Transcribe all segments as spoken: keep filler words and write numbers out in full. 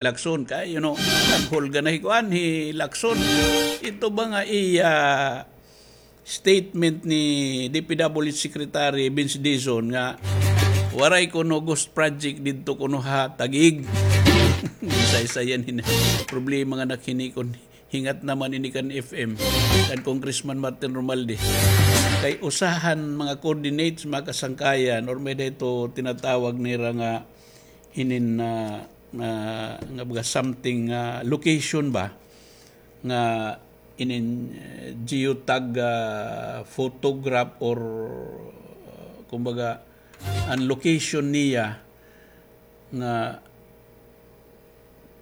Lacson kay, you know, naghulga na hi kuan, hi Lacson. Ito ba nga iya statement ni D P W H Secretary Vince Dizon nga waray kuno ghost project didto kuno ha Taguig. Isa-isa yan hin-, problema nga nakinikon. Hingat naman ini kan F M, kan Congressman Martin Romualdez. Kay usahan mga coordinates, mga kasangkayan, or may-ada ito tinatawag nira nga hinin na, na, nga baga something, ah, location ba? Nga inin, eh, geotag, ah, photograph or, ah, kumbaga, an location niya nga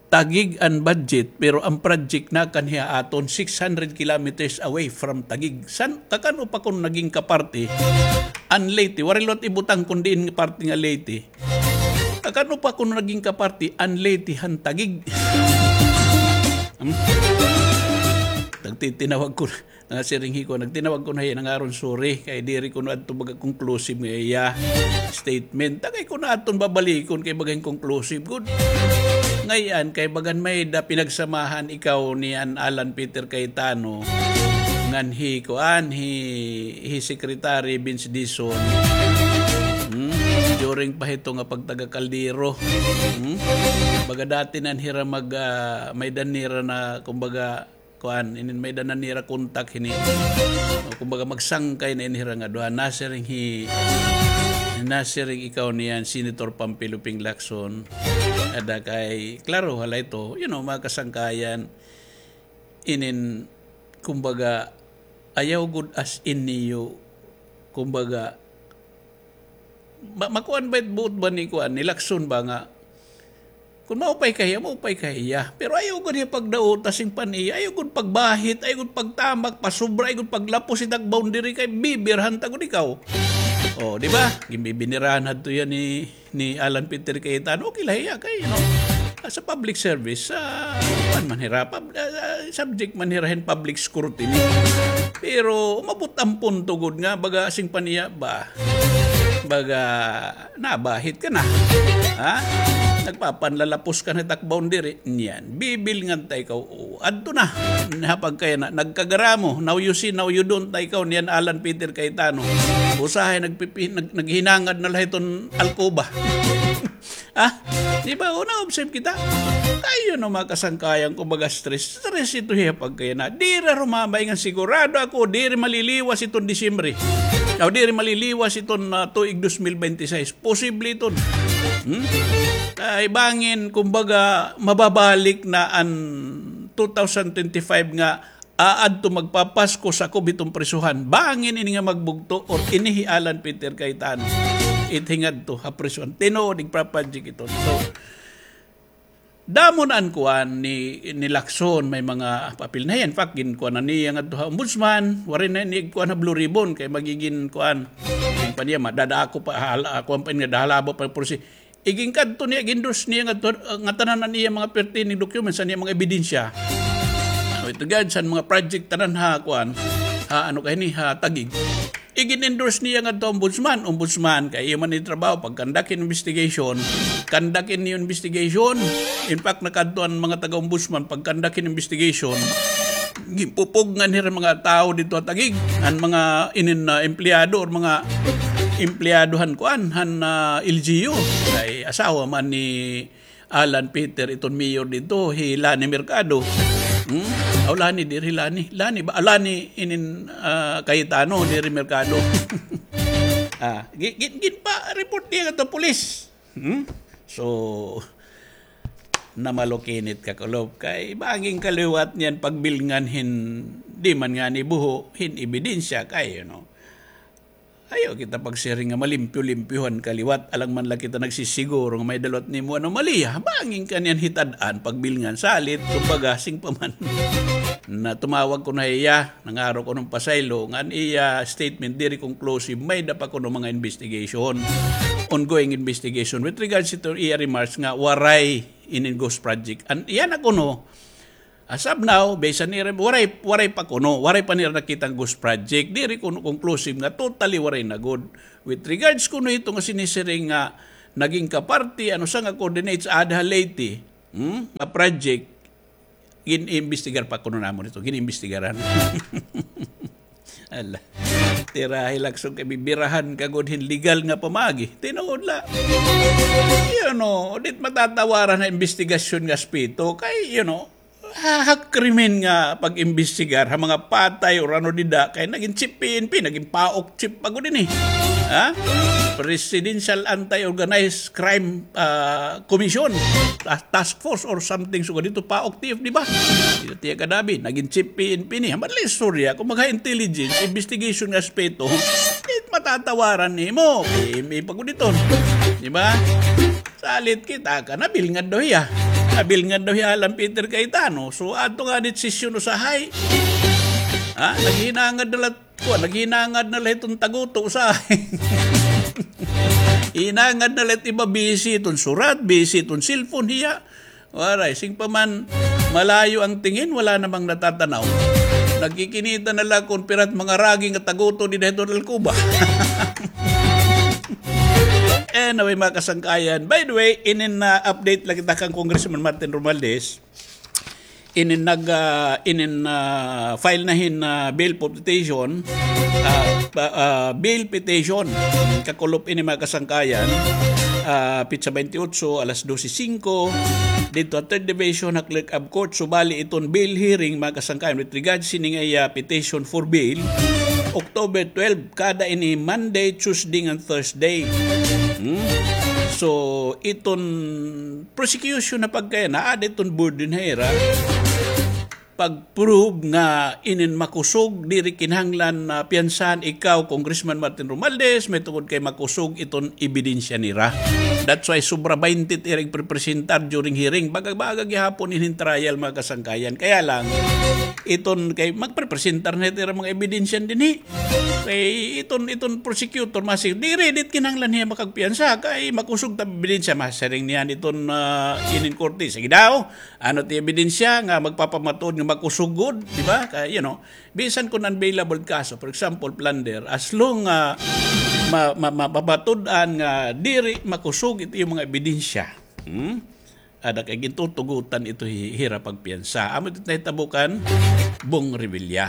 Taguig an budget, pero an project nakanhi ha aton six hundred kilometers away from Taguig. San, kakan-o pa kuno naging kaparti an Leyte? Waray liwat ibutang kun diin nga parte nga Leyte. Kakan-o pa kuno naging kaparti an Leyte han Taguig. Hmm? Nagtitinawag ko na. Nasiring hi kuan, nagtinawag kuno hiya, nangaron sorry kay diri kuno adto baga conclusive nga iya statement. Tagay kuno aton babalikon kay baga hin conclusive gud. Ngay-an kay bagan may-ada pinagsamahan ikaw ni an Alan Peter Cayetano ngan hi kuan, hi, hi Secretary Vince Dizon. Hmm? During pa hito nga pagtaga-kaldero. Hmm? Baga dati nan hira mag, ah, may-ada nira na, kumbaga, kuan, inin may-ada na nira kontak hini. O, kumbaga, magsangkay na ini hira nga duha. Nasiring hi, nasiring ikaw niyan, Senator Panfilo Ping Lacson. Ada kay, klaro, hala ito, you know, mga kasangkayan, inin, kumbaga, ayaw gud as in niyo, kumbaga, Ma-, makuan ba it buot ba ni kuan, ni Lacson ba nga, kun maupay ka hiya, maupay ka hiya. Pero ayaw gud hiya pagdauta, singpan hiya. Ayaw gud pagbahit, ayaw gud pagtamak, pasobra, ayaw gud paglapos it ak boundary kay bibirhan ta gud ikaw. O, di ba? Ginbibinirahan hadto hiya ni, ni Alan Peter Cayetano. Okay la hiya kay, you know, sa public service, ah, kuan man hira, pub-, ah, ah, subject man hira hin public scrutiny. Pero umabot an punto gud nga baga singpan hiya ba, baga nabahit ka na. Ha? Nagpapanlalapos ka na it ak boundary. Niyan, bibilngan ta ikaw. O, adto na. Napagkaya na, nagkagaramo. Now you see, now you don't ta ikaw. Niyan, Alan Peter Cayetano. Usahay nagpipi-, nag-, naghinangad na la hiton alkoba. Ha? Di ba? O, na-observe kita. Kay, you know, mga kasangkayan ko, baga stress. Stress ito hiya pagkaya na. Diri rumamay ngan sigurado ako, diri maliliwas iton Disyembre. O, diri maliliwas iton, ah, tuig dos mil bente sais. Posible iton. Hmm? Kay bangin, kumbaga, mababalik na an two thousand twenty-five nga aadto magpapasko sakob hiton prisuhan. Bangin ini nga magbugto or ini hi Alan Peter Cayetano. It hingadto ha prisuhan. Tinuod, igpaproject ito. So, damo na an kuan ni, ni Lacson, may mga papel na hiya. In fact, ginkuan na niya ngadto ha ombudsman, waray na ini igkuan ha Blue Ribbon, kay magigin kuan. Singpan hiya, madadako pa, hala, kuan pa ini nga dahalaba pa, pero si, iginkadto niya, gin-endorse niya ngadto, ah, ngatanan an iya mga pertinent documents, an iya mga ebidensya. With regards han mga project tanan ha, kuan, ha, ano kay ni, ha, Taguig. Igin-endorse niya ngadto ombudsman, ombudsman, kay iyo man it trabaho, pag-conduct hin investigation, conduct hin investigation. In fact, nakadto an mga taga-ombudsman, pag-conduct hin investigation, ginpupugngan hira mga tawo didto ha Taguig, an mga inin, ah, empleyado or mga empleyado han kuan, han, ah, L G U. Kay asawa man ni Alan Peter iton mayor didto, hi Lani Mercado. Hmm? Aw, Lani, diri Lani. Lani ba? Ah, Lani inin, ah, Cayetano, diri Mercado. Ah, gi-, gi-, ginpa-report niya ngadto ha pulis. Hmm? So, namalukinit ka, kulop, kay bangin ka liwat niyan pagbilngan hin, di man ngani buho, hin ebidensya kay, you know. Ayaw kita pagsiring nga malimpyo-limpyohan ka liwat, alang man la kita nagsisiguro nga may-ada liwat nimo anomalya. Bangin ka niyan hitad-an, pagbilngan, salit, kumbaga, sing pa man. Na tumawag kuno hiya, nangaro kuno hin pasaylo, nga an iya statement diri conclusive, may-ada pa kuno mga investigation, ongoing investigation. With regards to iya remarks nga waray inin ghost project. An iya na kuno, as of now, based han ira, waray, waray pa kuno, waray pa nira nakita an ghost project. Diri kuno conclusive nga totally waray na gud. With regards kuno hito nga sinisiring nga naging kaparti, ano sa nga coordinates, aada ha Leyte. Hmm? Mga project, gin-imbestigar pa kuno namon ito, gin-imbestigaran. Ala. Tira, Hilaksong, kay bibirahan ka gud hin legal nga pamaagi. Tinuod la. You know, dit matatawaran ha imbestigasyon nga aspeto. Kay, you know, ha, ha krimen nga pag-imbestigar, ha mga patay or ano dida, kay nagin chief P N P, nagin paok chief pa gud ini. Ha? Presidential Anti-Organized Crime, ah, Commission, Tas-, Task Force or something, sugad dito, paok T F, di ba? Dito tiya kadabi, nagin chief P N P ni. Hambal la istorya, kung magha-intelligence, investigation nga aspeto, it matatawaran nimo, P M A pa gud ito. Di ba? Salit kita ka, nabilngad daw hiya. Nabilngad daw hiya, Alan Peter Cayetano. So, ato nga dit sesyon usahay. Ha? Naghinangad na la, kuan, naghinangad na la hiton taguto usahay. Hinangad na la it iba, busy hiton surat, busy hiton cellphone hiya. Waray, sing pa man, malayo ang tingin, wala namang natatanaw. Nagkikinita na la kon pira it mga ragi nga taguto dida hiton alkuba. Anyway, mga kasangkayan. By the way, inin na update la kita kan Congressman Martin Romualdez. Inin nag, ah, inin, ah, file na hin, ah, bail petition, ah, pa-, ah, bail petition, kakulop ini, mga kasangkayan, ah, petsa twenty-eight, alas dose singko, didto ha Third Division ha Clerk of Court. So, bali iton bail hearing, mga kasangkayan, with regards sini nga iya petition for bail, October twelve, kada ini Monday, Tuesday, and Thursday. Hmm? So, iton prosecution na pagkaya, naa da iton burden ha ira pag-prove nga inin makusog, diri kinahanglan na piyansahan ikaw, Congressman Martin Romualdez, mahitungod kay makusog iton ebidensya nira. That's why sobra baynte it ira igprepresentar during hearing. Baga-baga gihapon inin trial, mga kasangkayan. Kaya lang, iton kay magprepresentar na it ira mga ebidensya dinhi. Kay iton, iton prosecutor, masig, diri, di it kinahanglan hiya makagpiyansa, kay makusog it ebidensya, masiring niya iton, ah, inin korte. Sige daw, ano it ebidensya nga magpapamatuod nga makusog gud, di ba? Kay, you know, bisan kon unavailable kaso, for example, plunder, as long nga ma-, ma-, mapapatud-an nga diri makusog it iyo mga ebidensya. Hmm? Ada kay gintutugutan ito hi-, hira pagpiyansa. Amo ito nahitabo kan Bong Revilla.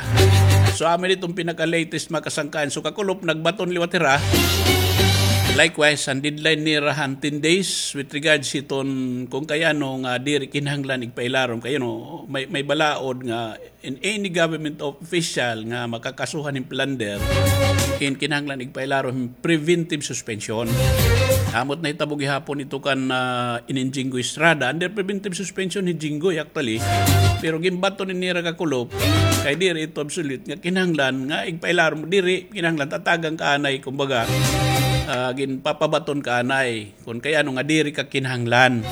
So, amo iton pinaka-latest, mga kasangkayan. So, kakulop, nagbaton liwat hira. Likewise, an deadline nira han ten days with regards hiton kon kay ano nga diri kinahanglan igpailarom. Kay, you know, may, may balaod nga in any government official nga makakasuhan hin plunder, in kinahanglan igpailarom hin preventive suspension. Amo it nahitabo gihapon ito kan, ah, inin Jinggoy Estrada. Under preventive suspension hi Jinggoy, actually. Pero ginbaton ini nira kakulop, kay diri ito absolute nga kinahanglan nga igpailarom, diri kinahanglan tatagan ka anay, kumbaga, ah, ginpapabaton ka anay. Kon kay ano nga diri ka kinahanglan,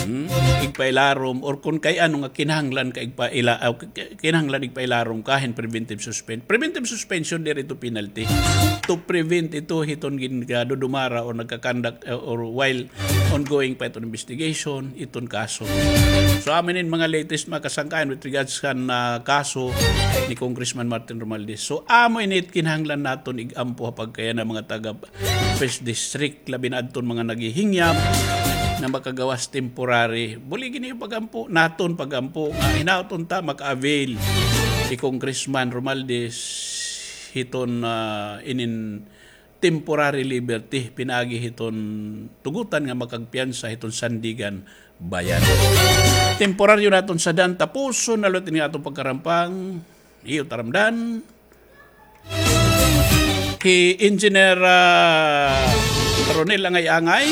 hmm, igpailarom, or kon kay ano nga kinahanglan ka igpaila-, ah, k-, k-, kinahanglan igpailarom ka hin preventive suspen-, preventive suspension, diri ito penalty. To prevent ito hiton gin-, gadudumara or nagka-conduct, uh, or while ongoing pa iton investigation, iton kaso. So, amo ini mga latest, mga kasangkayan, with regards kan, ah, kaso ni Congressman Martin Romualdez. So, amo ini it kinahanglan naton ig-ampo ha pagkayana, mga taga First District, labi na adton mga naghihingyap nga makagawas temporary. Buligi niyo pag-ampo, naton pag-ampo, nga hinaot unta maka-avail hi Congressman Romualdez hiton, ah, inin temporary liberty, pinaagi hiton tugutan nga makagpiyansa hiton Sandiganbayan. Temporaryo naton sadyan, tapuson na liwat ini nga aton pagkarampang. Iyo taramdan. Hi Engineer, ah, Ronel Angay-Angay,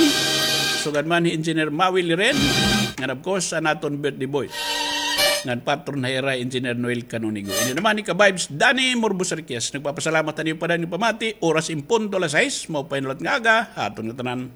sugad man hi Engineer Maui Liren, ngan of course, an aton birthday boy, ngan patron ha ira, Engineer Noel Canonigo. Ini naman hi ka-vibes, Danny Morbos Riquez. Nagpapasalamat ha niyo pa dayon nga pamati. Oras in punto alas sais, maupay na liwat nga aga ha aton ngatanan.